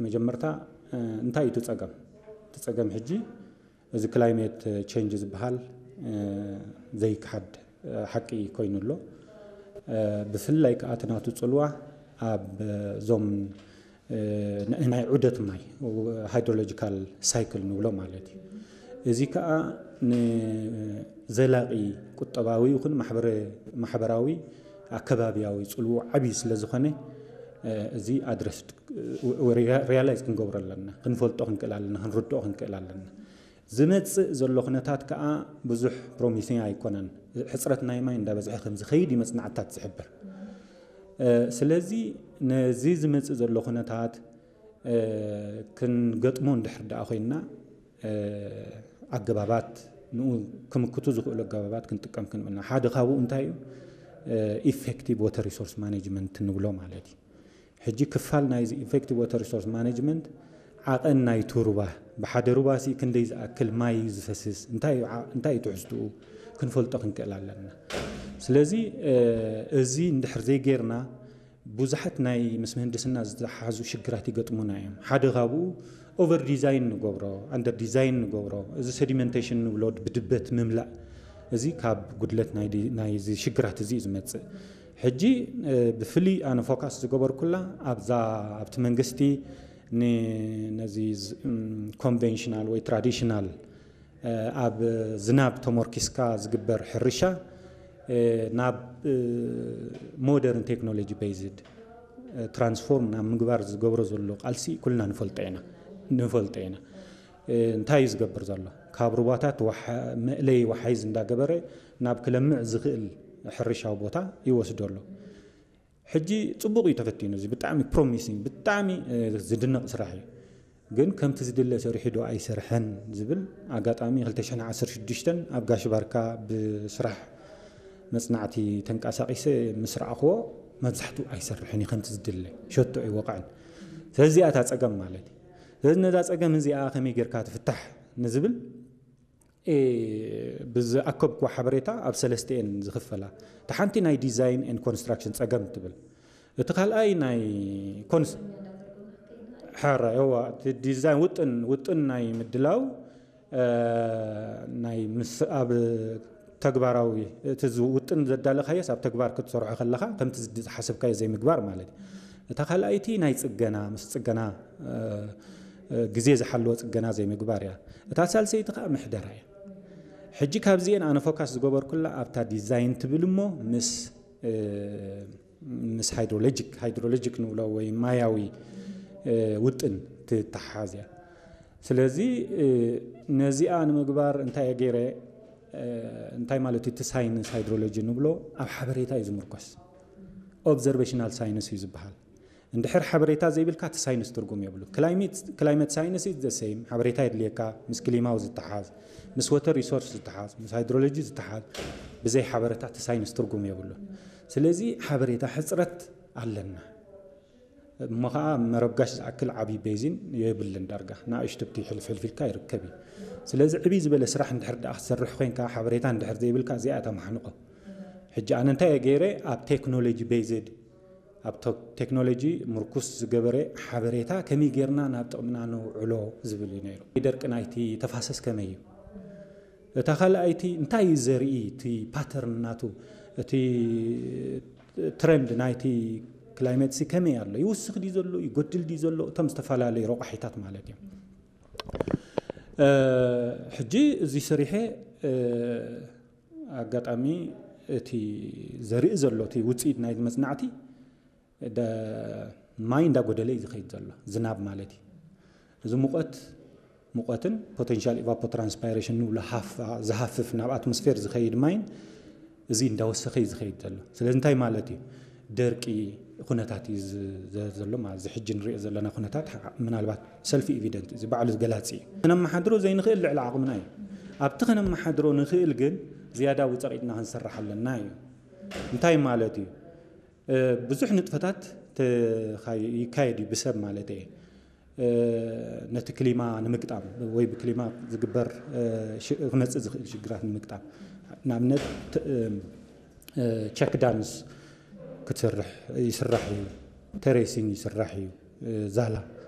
መጀመርታ እንታይ እዩ እቲ ጸገም? እቲ ጸገም ሕጂ እዚ ክላይሜት ቼንጅ ዝበሃል ዘይክሓድ ሓቂ ኮይኑ ኣሎ። ብፍላይ ከዓ እቲ ናቱ ጽልዋ ኣብ እዞም ናይ ዑደት ማይ፣ ሃይድሮሎጂካል ሳይክል ንብሎ ማለት እዩ። እዚ ከዓ ንዘላቂ ቁጠባዊ ይኹን ማሕበራዊ ኣከባቢያዊ ጽልዎ ዓብዪ ስለ ዝኾነ እዚ ኣድረስ ሪያላይዝ ክንገብሮ ኣለና፣ ክንፈልጦ ክንክእል ኣለና፣ ክንርድኦ ክንክእል ኣለና። ዝመጽእ ዘሎ ኩነታት ከዓ ብዙሕ ፕሮሚሲንግ ኣይኮነን። ሕፅረት ናይ ማይ እንዳበዝሐ ከም ዝኸይድ እዩ መፅናዕትታት ዝሕብር። ስለዚ ነዚ ዝመጽእ ዘሎ ኩነታት ክንገጥሞ እንድሕር ደኣ ኮይንና ኣገባባት ንኡ ክምክቱ ዝኽእሉ ኣገባባት ክንጥቀም ክንብልና። ሓደ ካብኡ እንታይ እዩ? ኢፌክቲቭ ወተር ሪሶርስ ማኔጅመንት ንብሎ ማለት እዩ። ሕጂ ክፋል ናይዚ ኢፌክቲቭ ወተር ሪሶርስ ማኔጅመንት ዓቐን ናይቲ ሩባ፣ ብሓደ ሩባ ሲ ክንደይ ዝኣክል ማይ እዩ ዝፈስስ፣ እንታይ እዩ ትሕዝትኡ ክንፈልጦ ክንክእል ኣለና። ስለዚ እዚ እንድሕር ዘይጌርና ብዙሓት ናይ ምስ ምህንድስና ዝተሓዙ ሽግራት ይገጥሙና እዮም። ሓደ ካብኡ ኦቨር ዲዛይን ንገብሮ፣ ኣንደር ዲዛይን ንገብሮ፣ እዚ ሰዲመንቴሽን ንብሎ ብድበት ምምላእ፣ እዚ ካብ ጉድለት ናይዚ ሽግራት እዚ እዩ ዝመፅእ። ሕጂ ብፍሉይ ኣነ ፎካስ ዝገበርኩላ ኣብዛ ኣብቲ መንግስቲ ነዚ ኮንቨንሽናል ወይ ትራዲሽናል ኣብ ዝናብ ተሞርኪስካ ዝግበር ሕርሻ ናብ ሞደርን ቴክኖሎጂ ቤዝድ ትራንስፎርም ናብ ምግባር ዝገብሮ ዘሎ ቃልሲ ኩልና ንፈልጦ ኢና ንፈልጦ ኢና። እንታይ እዩ ዝገብር ዘሎ? ካብ ሩባታት መእለይ ወሓይዝ እንዳገበረ ናብ ክለምዕ ዝኽእል ሕርሻዊ ቦታ ይወስዶ ኣሎ። ሕጂ ጽቡቕ እዩ ተፈቲኑ። እዚ ብጣዕሚ ፕሮሚሲንግ፣ ብጣዕሚ ዝድነቕ ስራሕ እዩ። ግን ከምቲ ዝድለ ሰሪሑ ዶ ኣይሰርሐን ዝብል ኣጋጣሚ ክልተ ሽሕን ዓሰርተ ሽዱሽተን ኣብ ጋሽ ባርካ ብስራሕ መጽናዕቲ ተንቀሳቒሰ ምስ ረኣኽዎ መብዛሕትኡ ኣይሰርሕን እዩ ከምቲ ዝድለ፣ ሸቶ ኣይወቕዕን። ስለዚ እዚኣ እታ ጸገም ማለት እዩ። ስለዚ ነዛ ጸገም እዚኣ ከመይ ጌርካ ትፍታሕ ንዝብል ብዝኣከብኩዎ ሓበሬታ ኣብ ሰለስተ እየን ዝኽፈላ። እቲ ሓንቲ ናይ ዲዛይን ኤንድ ኮንስትራክሽን ጸገም ትብል፣ እቲ ካልኣይ ናይ ኮንስ ሕራ እዋ እቲ ዲዛይን ውጥን ውጥን ናይ ምድላው ናይ ምስ ኣብ ተግባራዊ እቲ ውጥን ዘዳለኻዮስ ኣብ ተግባር ክትሰርሖ ከለኻ ከምቲ ዝሓሰብካዮ ዘይምግባር ማለት እዩ። እታ ካልኣይቲ ናይ ጽገና ምስ ጽገና ግዜ ዝሓለወ ጽገና ዘይምግባር እያ። እታ ሳልሰይቲ ከዓ ምሕደራ እያ። ሕጂ ካብዚኤን ኣነ ፎካስ ዝገበርኩላ ኣብታ ዲዛይን ትብል እሞ ምስ ምስ ሃይድሮሎጂክ ሃይድሮሎጂክ ንብሎ ወይ ማያዊ ውጥን ትተሓሓዝ እያ። ስለዚ ነዚኣ ንምግባር እንታይ እየ ገይረ? እንታይ ማለት እዩ? እቲ ሳይንስ ሃይድሮሎጂ ንብሎ ኣብ ሓበሬታ እዩ ዝምርኮስ። ኦብዘርቬሽናል ሳይንስ እዩ ዝበሃል። እንድሕር ሓበሬታ ዘይብልካ እቲ ሳይንስ ትርጉም የብሉ። ክላይመት ሳይንስ ኢዝ ዘ ሴም፣ ሓበሬታ የድልየካ፣ ምስ ክሊማው ዝተሓዝ፣ ምስ ወተር ሪሶርስ ዝተሓዝ፣ ምስ ሃይድሮሎጂ ዝተሓዝ፣ ብዘይ ሓበሬታ እቲ ሳይንስ ትርጉም የብሉ። ስለዚ ሓበሬታ ሕፅረት ኣለና። እሞ ከዓ መረብ ጋሽ ዝኣክል ዓብዪ ቤዚን የብልን። ዳርጋ ንኣሽቱ ብቲ ሕልፍ ሕልፍ ኢልካ ይርከብ እዩ። ስለዚ ዕብይ ዝበለ ስራሕ እንድሕር ደኣ ክትሰርሕ ኮይንካ ሓበሬታ እንድሕር ዘይብልካ እዚኣ እታ ማሕንቆ። ሕጂ ኣነ እንታይ እየ ገይረ? ኣብ ቴክኖሎጂ ቤዝድ ኣብ ቴክኖሎጂ ምርኩስ ዝገበረ ሓበሬታ ከመይ ጌርና ናብ ጥቕምና ነውዕሎ ዝብል እዩ ነይሩ። ደርቂ ናይቲ ተፋሰስ ከመይ እዩ? እታ ካልኣይቲ እንታይ እዩ ዘርኢ? እቲ ፓተርን ናቱ እቲ ትረንድ ናይቲ ክላይመት ሲ ከመይ ኣሎ? ይውስኽ ድዩ ዘሎ? ይጎድል ድዩ ዘሎ? እቶም ዝተፈላለዩ ረቋሒታት ማለት እዮም። ሕጂ እዚ ሰሪሐ ኣጋጣሚ እቲ ዘርኢ ዘሎ እቲ ውፅኢት ናይ መፅናዕቲ ማይ እንዳጎደለ እዩ ዝኸይድ ዘሎ፣ ዝናብ ማለት እዩ። እዚ ሙቐት ሙቐትን ፖቴንሻል ኢቫፖትራንስፓይሬሽን ንብሎ ሃፍ ዝሃፍፍ ናብ ኣትሞስፌር ዝኸይድ ማይን እዚ እንዳወሰኸ እዩ ዝኸይድ ዘሎ። ስለዚ እንታይ ማለት እዩ? ደርቂ ኩነታት እዩ ዘሎ ማለት እዚ ሕጂ ንሪኦ ዘለና ኩነታት ምናልባት ሰልፊ ኤቪደንት እዚ ባዕሉ ገላፂ እዩ። ከነመሓድሮ ዘይንኽእል ልዕሊ ዓቕምና እዩ። ኣብቲ ከነመሓድሮ ንኽእል ግን ዝያዳ ውፀቒጥና ክንሰርሕ ኣለና እዩ። እንታይ ማለት እዩ? ብዙሕ ንጥፈታት ይካየድ እዩ ብሰብ ማለት እየ። ነቲ ክሊማ ንምግጣም ወይ ብክሊማ ዝግበር ክመፅእ ዝኽእል ሽግራት ንምግጣም ንኣብነት ቸክ ዳምስ ክትሰርሕ ይስራሕ እዩ። ቴሬሲንግ ይስራሕ እዩ። ዛላ